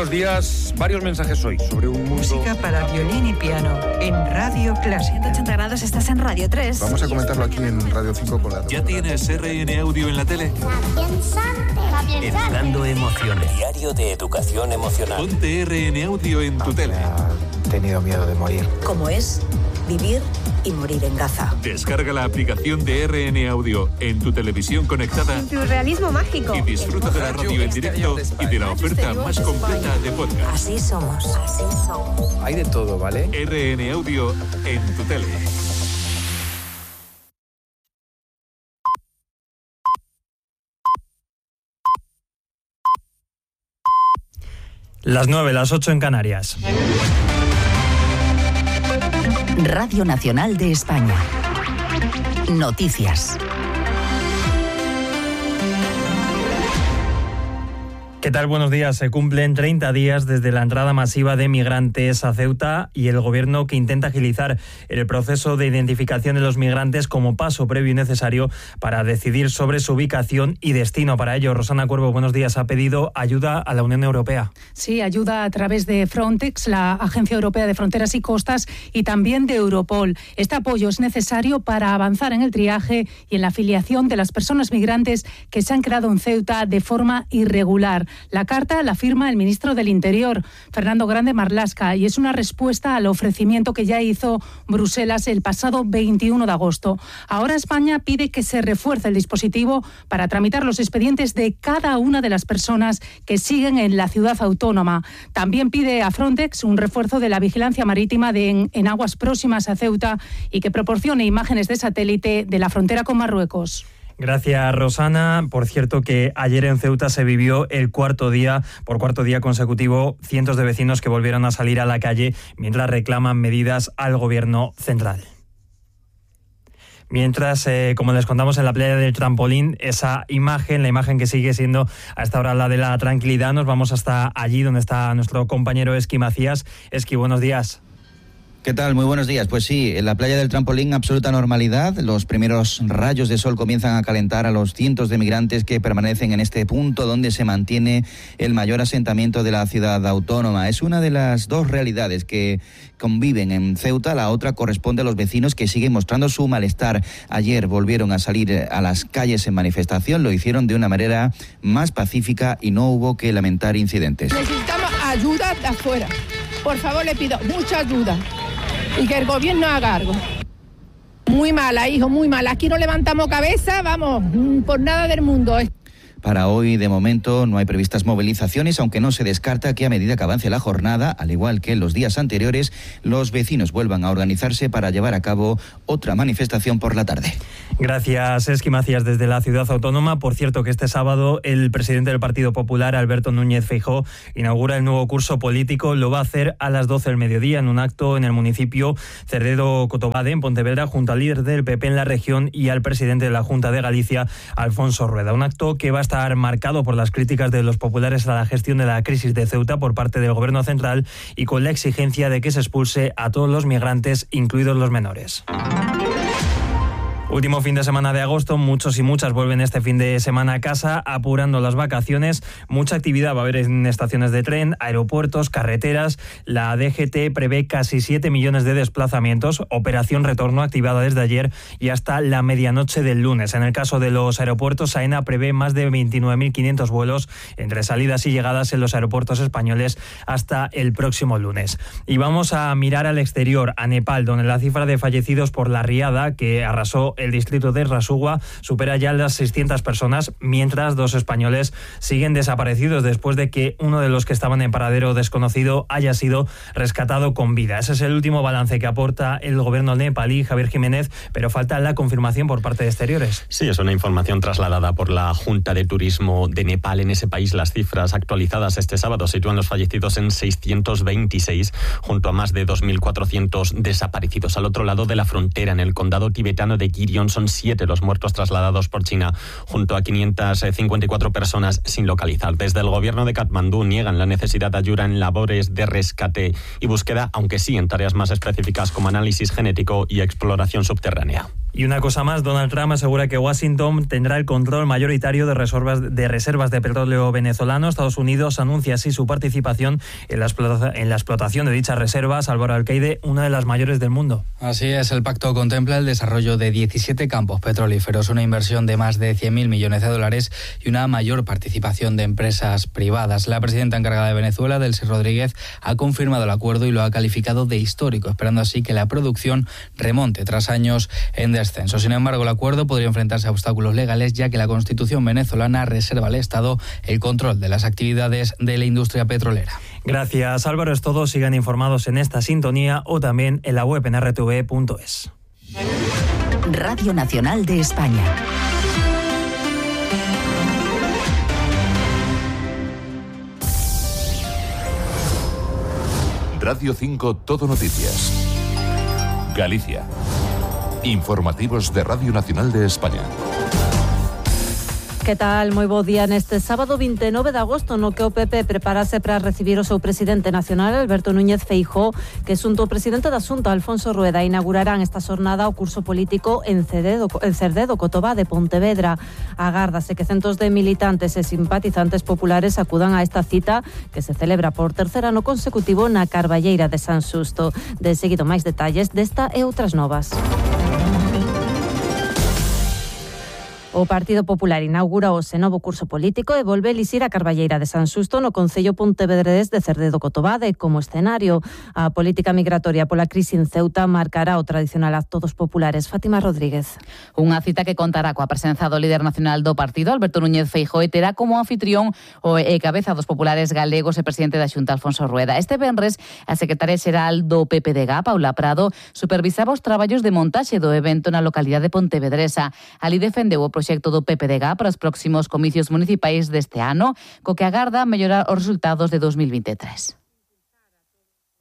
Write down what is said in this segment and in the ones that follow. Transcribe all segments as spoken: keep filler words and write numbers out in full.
buenos días. Varios mensajes hoy sobre un mundo... Música para violín y piano en Radio Clásica. ciento ochenta grados, estás en Radio tres. Vamos a comentarlo aquí en Radio cinco con la... ¿Ya tienes R N Audio en la tele? Educando emociones. Diario de educación emocional. Ponte R N Audio en tu tele. He tenido miedo de morir. ¿Cómo es vivir y morir en Gaza? Descarga la aplicación de R N Audio en tu televisión conectada. En tu realismo mágico. Y disfruta de la radio en directo y de la oferta más completa de podcast. Así somos. Así somos. Hay de todo, ¿vale? R N Audio en tu tele. Las nueve, las ocho en Canarias. Radio Nacional de España. Noticias. ¿Qué tal? Buenos días. Se cumplen treinta días desde la entrada masiva de migrantes a Ceuta y el gobierno que intenta agilizar el proceso de identificación de los migrantes como paso previo y necesario para decidir sobre su ubicación y destino. Para ello, Rosana Cuervo, buenos días, ha pedido ayuda a la Unión Europea. Sí, ayuda a través de Frontex, la Agencia Europea de Fronteras y Costas, y también de Europol. Este apoyo es necesario para avanzar en el triaje y en la afiliación de las personas migrantes que se han quedado en Ceuta de forma irregular. La carta la firma el ministro del Interior, Fernando Grande Marlaska, y es una respuesta al ofrecimiento que ya hizo Bruselas el pasado veintiuno de agosto. Ahora España pide que se refuerce el dispositivo para tramitar los expedientes de cada una de las personas que siguen en la ciudad autónoma. También pide a Frontex un refuerzo de la vigilancia marítima de en, en aguas próximas a Ceuta y que proporcione imágenes de satélite de la frontera con Marruecos. Gracias, Rosana. Por cierto, que ayer en Ceuta se vivió el cuarto día, por cuarto día consecutivo, cientos de vecinos que volvieron a salir a la calle mientras reclaman medidas al gobierno central. Mientras, eh, como les contamos en la playa del Trampolín, esa imagen, la imagen que sigue siendo a esta hora la de la tranquilidad, nos vamos hasta allí donde está nuestro compañero Esqui Macías. Esqui, buenos días. ¿Qué tal? Muy buenos días. Pues sí, en la playa del Trampolín, absoluta normalidad. Los primeros rayos de sol comienzan a calentar a los cientos de migrantes que permanecen en este punto donde se mantiene el mayor asentamiento de la ciudad autónoma. Es una de las dos realidades que conviven en Ceuta. La otra corresponde a los vecinos que siguen mostrando su malestar. Ayer volvieron a salir a las calles en manifestación. Lo hicieron de una manera más pacífica y no hubo que lamentar incidentes. Necesitamos ayuda de afuera. Por favor, le pido mucha ayuda. Y que el gobierno haga algo. Muy mala, hijo, muy mala. Aquí no levantamos cabeza, vamos, por nada del mundo. Para hoy, de momento, no hay previstas movilizaciones, aunque no se descarta que a medida que avance la jornada, al igual que en los días anteriores, los vecinos vuelvan a organizarse para llevar a cabo otra manifestación por la tarde. Gracias, Esqui Macías, desde la ciudad autónoma. Por cierto, que este sábado el presidente del Partido Popular, Alberto Núñez Feijóo, inaugura el nuevo curso político. Lo va a hacer a las doce del mediodía en un acto en el municipio Cerdedo-Cotobade, en Pontevedra, junto al líder del P P en la región y al presidente de la Junta de Galicia, Alfonso Rueda. Un acto que va a estar marcado por las críticas de los populares a la gestión de la crisis de Ceuta por parte del gobierno central y con la exigencia de que se expulse a todos los migrantes, incluidos los menores. Último fin de semana de agosto, muchos y muchas vuelven este fin de semana a casa, apurando las vacaciones. Mucha actividad va a haber en estaciones de tren, aeropuertos, carreteras. La D G T prevé casi siete millones de desplazamientos, operación retorno activada desde ayer y hasta la medianoche del lunes. En el caso de los aeropuertos, AENA prevé más de veintinueve mil quinientos vuelos entre salidas y llegadas en los aeropuertos españoles hasta el próximo lunes. Y vamos a mirar al exterior, a Nepal, donde la cifra de fallecidos por la riada que arrasó el distrito de Rasugua supera ya las seiscientas personas, mientras dos españoles siguen desaparecidos después de que uno de los que estaban en paradero desconocido haya sido rescatado con vida. Ese es el último balance que aporta el gobierno nepalí, Javier Jiménez, pero falta la confirmación por parte de Exteriores. Sí, es una información trasladada por la Junta de Turismo de Nepal. En ese país las cifras actualizadas este sábado sitúan los fallecidos en seiscientos veintiséis, junto a más de dos mil cuatrocientos desaparecidos. Al otro lado de la frontera, en el condado tibetano de Girion, son siete los muertos trasladados por China, junto a quinientas cincuenta y cuatro personas sin localizar. Desde el gobierno de Katmandú niegan la necesidad de ayuda en labores de rescate y búsqueda, aunque sí en tareas más específicas como análisis genético y exploración subterránea. Y una cosa más, Donald Trump asegura que Washington tendrá el control mayoritario de reservas de, reservas de petróleo venezolano. Estados Unidos anuncia así su participación en la, explota, en la explotación de dichas reservas. Álvaro Alcaide, una de las mayores del mundo. Así es, el pacto contempla el desarrollo de diecisiete campos petrolíferos, una inversión de más de cien mil millones de dólares y una mayor participación de empresas privadas. La presidenta encargada de Venezuela, Delcy Rodríguez, ha confirmado el acuerdo y lo ha calificado de histórico, esperando así que la producción remonte tras años en descenso. Sin embargo, el acuerdo podría enfrentarse a obstáculos legales, ya que la Constitución venezolana reserva al Estado el control de las actividades de la industria petrolera. Gracias, Álvaro. Es todo. Sigan informados en esta sintonía o también en la web en erre te ve punto es. Radio Nacional de España. Radio cinco Todo Noticias. Galicia. Informativos de Radio Nacional de España. Que tal? Moi bo día neste sábado vinte e nove de agosto, no que o P P preparase para recibir o seu presidente nacional, Alberto Núñez Feijóo, que xunto o presidente da Xunta, Alfonso Rueda, inaugurarán esta xornada o curso político en Cerdedo, en Cerdedo Cotobá de Pontevedra. Agárdase que centos de militantes e simpatizantes populares acudan a esta cita que se celebra por tercer ano consecutivo na Carballeira de San Xusto. De seguido máis detalles desta e outras novas. O Partido Popular inaugura o novo curso político e volve elixir a Carballeira de San Xusto no concello pontevedrés de Cerdedo Cotobade como escenario. A política migratoria pola crise en Ceuta marcará o tradicional acto dos populares. Fátima Rodríguez. Unha cita que contará coa presenza do líder nacional do partido, Alberto Núñez Feijóo, e terá como anfitrión o e cabeza dos populares galegos e presidente da Xunta, Alfonso Rueda. Este venres, a secretaria xeral do P P D G, Paula Prado, supervisaba os traballos de montaxe do evento na localidade pontevedresa. Ali defendeu o proxecto do P P D G para os próximos comicios municipais deste ano, co que agarda mellorar os resultados de dos mil vinte e tres.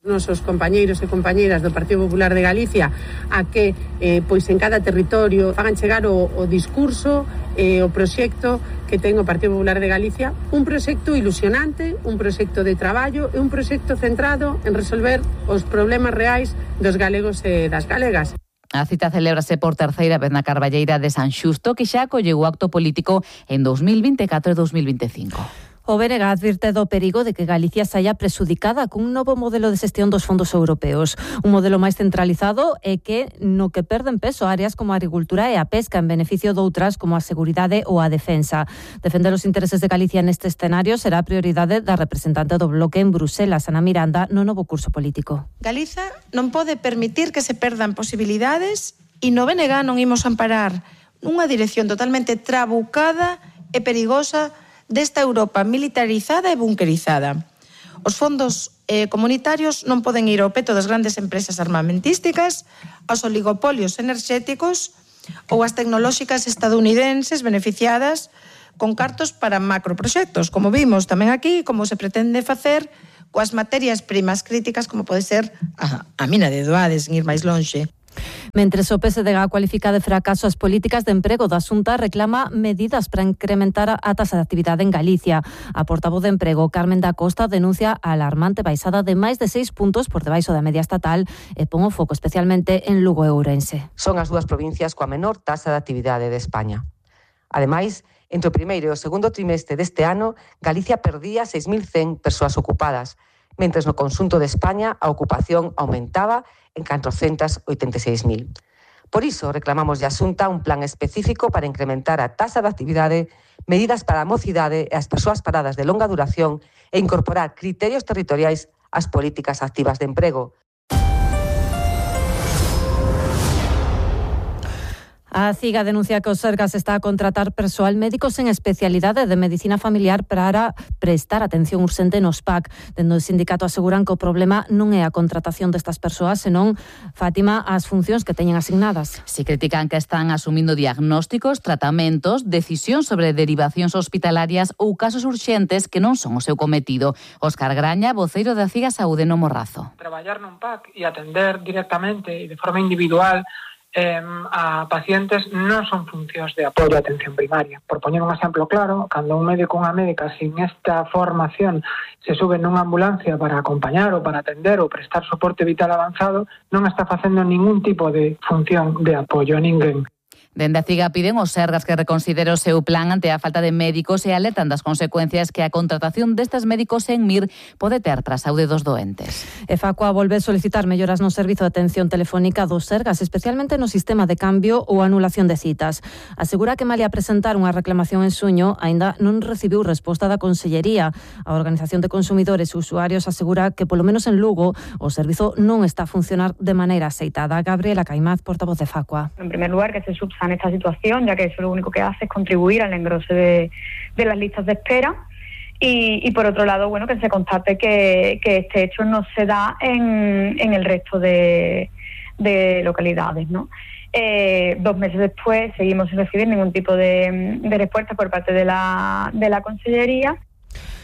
Nosos compañeiros e compañeiras do Partido Popular de Galicia a que eh, pois en cada territorio fagan chegar o, o discurso e eh, o proxecto que ten o Partido Popular de Galicia, un proxecto ilusionante, un proxecto de traballo e un proxecto centrado en resolver os problemas reais dos galegos e das galegas. A cita celébrase por terceira vez na Carballeira de San Xusto, que xa acolleu o acto político en dos mil vinte e catro e dos mil vinte e cinco. O B N G advirte do perigo de que Galicia saia presudicada cun novo modelo de xestión dos fondos europeos. Un modelo máis centralizado e que no que perden peso áreas como a agricultura e a pesca en beneficio doutras como a seguridade ou a defensa. Defender os intereses de Galicia neste escenario será a prioridade da representante do Bloque en Bruselas, Ana Miranda, no novo curso político. Galiza non pode permitir que se perdan posibilidades e no B N G non imos amparar unha dirección totalmente trabucada e perigosa desta Europa militarizada e bunkerizada. Os fondos eh, comunitarios non poden ir ao peto das grandes empresas armamentísticas, aos oligopolios enerxéticos ou as tecnolóxicas estadounidenses beneficiadas con cartos para macroproxectos, como vimos tamén aquí, como se pretende facer coas materias primas críticas, como pode ser a, a mina de Doades, en ir máis lonxe. Mentres o P S D G cualifica de fracaso as políticas de emprego da Xunta, reclama medidas para incrementar a tasa de actividade en Galicia. A portavoz de Emprego, Carmen da Costa, denuncia a alarmante baixada de máis de seis puntos por debaixo da media estatal e pon o foco especialmente en Lugo e Ourense. Son as dúas provincias coa menor tasa de actividade de España. Ademais, entre o primeiro e o segundo trimestre deste ano, Galicia perdía seis mil cen persoas ocupadas, mentres no conxunto de España a ocupación aumentaba en catrocentos oitenta e seis mil. Por iso, reclamamos de a Xunta un plan específico para incrementar a tasa de actividade, medidas para a mocidade e as persoas paradas de longa duración e incorporar criterios territoriais ás políticas activas de emprego. A CIGA denuncia que o Sergas está a contratar persoal médico sen especialidade de medicina familiar para prestar atención urxente nos P A C. Dende o sindicato aseguran que o problema non é a contratación destas persoas, senón, Fátima, as funcións que teñen asignadas. Si critican que están asumindo diagnósticos, tratamentos, decisións sobre derivacións hospitalarias ou casos urxentes que non son o seu cometido. Óscar Graña, voceiro da CIGA Saúde no Morrazo. Traballar nun P A C e atender directamente e de forma individual eh, a pacientes non son funcións de apoio á atención primaria. Por poñer un exemplo claro, cando un médico ou unha médica sin esta formación se sube nunha ambulancia para acompañar ou para atender ou prestar soporte vital avanzado, non está facendo ningún tipo de función de apoio a ninguén. Dende a CIGA piden aos Sergas que reconsidere o seu plan ante a falta de médicos e alertan das consecuencias que a contratación destes médicos en M I R pode ter para a saúde dos doentes. E Facua volve solicitar melloras no servizo de atención telefónica dos Sergas, especialmente no sistema de cambio ou anulación de citas. Asegura que malia presentar unha reclamación en suño, aínda non recibiu resposta da Consellería. A Organización de Consumidores e Usuarios asegura que, polo menos en Lugo, o servizo non está a funcionar de maneira aceitada. Gabriela Caimaz, portavoz de Facua. En primer lugar, que se subsane esta situación, ya que eso lo único que hace es contribuir al engrose de, de las listas de espera. Y, y por otro lado, bueno, que se constate que, que este hecho no se da en, en el resto de, de localidades, ¿no? Eh, dos meses después seguimos sin recibir ningún tipo de, de respuesta por parte de la, de la Consellería.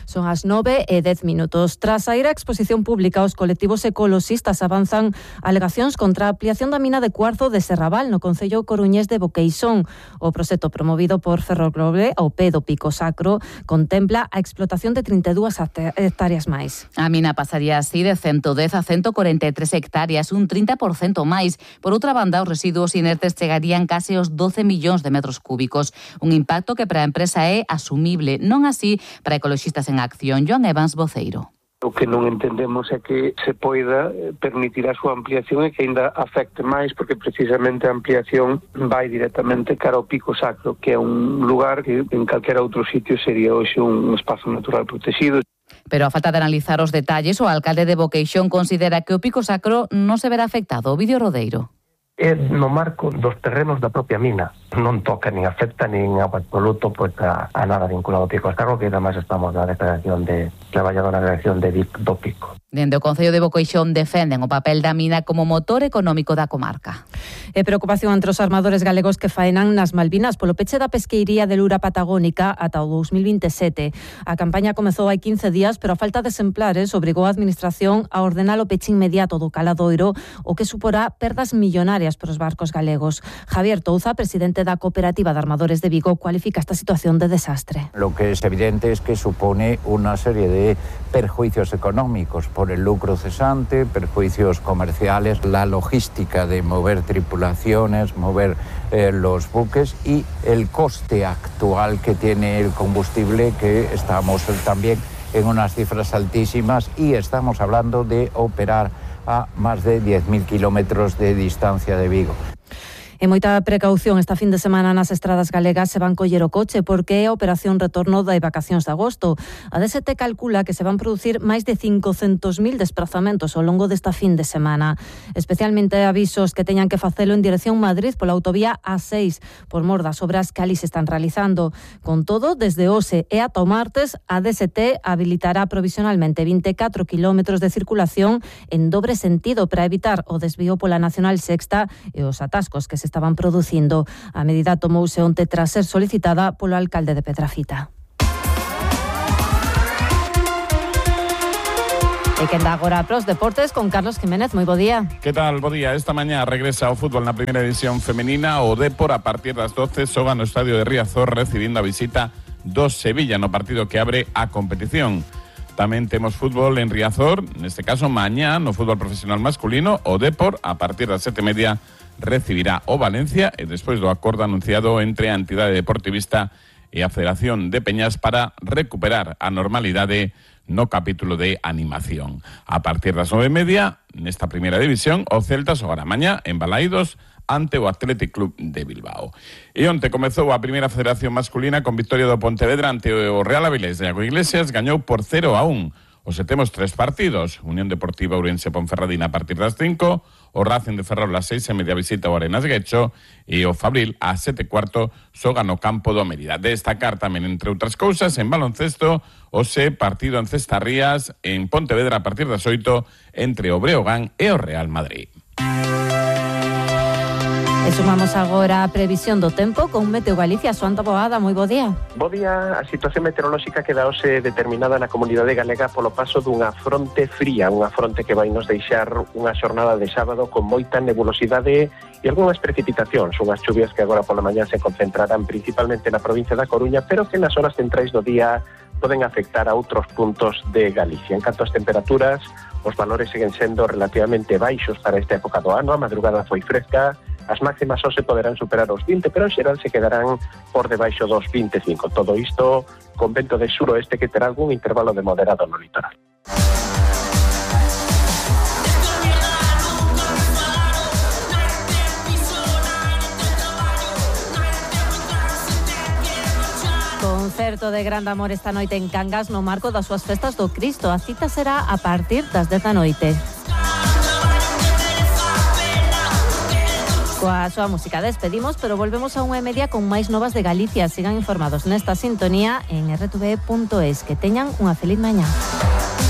Son as nove e dez minutos. Tras sair a exposición pública, os colectivos ecoloxistas avanzan alegacións contra a ampliación da mina de cuarzo de Serrabal no concello coruñés de Boqueixón. O proxecto promovido por Ferroglobe ao pé do Pico Sacro contempla a explotación de trinta e dúas hectáreas máis. A mina pasaría así de ciento dez a ciento cuarenta e tres hectáreas, un trinta por cento máis. Por outra banda, os residuos inertes chegarían case aos doce millóns de metros cúbicos. Un impacto que para a empresa é asumible, non así para ecoloxistas en acción. Joan Evans, voceiro. O que non entendemos é que se poida permitir a súa ampliación e que ainda afecte máis, porque precisamente a ampliación vai directamente cara ao Pico Sacro, que é un lugar que en calquera outro sitio sería hoxe un espazo natural protegido. Pero a falta de analizar os detalles, o alcalde de Boqueixón considera que o Pico Sacro non se verá afectado. Ovidio Rodeiro. É no marco dos terrenos da propia mina. Non toca nin afecta nin absoluto pois, a, a nada vinculado ao Pico Sacro, que además estamos na declaración de traballadora na declaración de do Pico. Dende o Concello de Boqueixón defenden o papel da mina como motor económico da comarca. E preocupación entre os armadores galegos que faenan nas Malvinas polo peche da pesqueiría de Lura Patagónica ata o dos mil vinte e sete. A campaña comezou hai quince días, pero a falta de exemplares obrigou a Administración a ordenar o peche inmediato do caladoiro, o que suporá perdas millonarias para os barcos galegos. Javier Touza, presidente da Cooperativa de Armadores de Vigo, cualifica esta situación de desastre. Lo que es evidente es que supone una serie de perjuicios económicos por el lucro cesante, perjuicios comerciales, la logística de mover tripulaciones, mover eh, los buques y el coste actual que tiene el combustible, que estamos también en unas cifras altísimas y estamos hablando de operar a más de diez mil kilómetros de distancia de Vigo. E moita precaución esta fin de semana nas estradas galegas se van coller o coche porque é a operación retorno das vacacións de agosto. A D S T calcula que se van producir máis de cincocentos mil desplazamentos ao longo desta fin de semana. Especialmente avisos que teñan que facelo en dirección Madrid pola autovía A seis por mor das obras que ali se están realizando. Con todo, desde hoxe e ata o martes, a D S T habilitará provisionalmente vinte e catro kilómetros de circulación en dobre sentido para evitar o desvío pola Nacional Sexta e os atascos que se estaban producindo. A medida tomouse onte tras ser solicitada polo alcalde de Pedrafita. E que anda agora pros deportes con Carlos Jiménez. Moi bo día. Que tal? Bo día. Esta mañá regresa o fútbol na primeira división femenina. O Depor a partir das doce xoga no estadio de Riazor recibindo a visita do Sevilla no partido que abre a competición. Tamén temos fútbol en Riazor, neste caso mañá no fútbol profesional masculino. O Depor a partir das sete e media recibirá o Valencia e despois do acordo anunciado entre a entidade deportivista e a Federación de Peñas para recuperar a normalidade no capítulo de animación. A partir das nove e media, nesta primeira división, o Celta xogará mañá en Balaídos ante o Athletic Club de Bilbao. E onte comezou a primeira federación masculina con victoria do Pontevedra ante o Real Avilés de Iago Iglesias, gañou por cero a un. Hoxe temos tres partidos, Unión Deportiva Ourense Ponferradina a partir das cinco, o Racing de Ferrol a seis e media visita o Arenas Guecho e o Fabril a sete e cuarto xoga no campo do Mérida. Destacar tamén, entre outras cousas, en baloncesto, hoxe partido en Cestarrías en Pontevedra a partir das oito entre o Breogán e o Real Madrid. E sumamos agora a previsión do tempo con Meteo Galicia. Xoan Taboada, moi bo día. Bo día. A situación meteorolóxica queda hoxe determinada na comunidade galega polo paso dunha fronte fría, unha fronte que vai nos deixar unha xornada de sábado con moita nebulosidade e algunhas precipitacións, unhas chuvias que agora pola mañá se concentrarán principalmente na provincia da Coruña, pero que nas horas centrais do día poden afectar a outros puntos de Galicia. En canto ás temperaturas, os valores seguen sendo relativamente baixos para esta época do ano. A madrugada foi fresca, as máximas hoxe poderán superar os vinte, pero en xeral se quedarán por debaixo dos vinte e cinco. Todo isto con vento de suroeste que terá algún intervalo de moderado no litoral. Concerto de grande amor esta noite en Cangas no marco das súas festas do Cristo. A cita será a partir das dez da noite. Coa súa música despedimos, pero volvemos a unha e media con máis novas de Galicia. Sigan informados nesta sintonía en erre te ve punto es. Que teñan unha feliz mañá.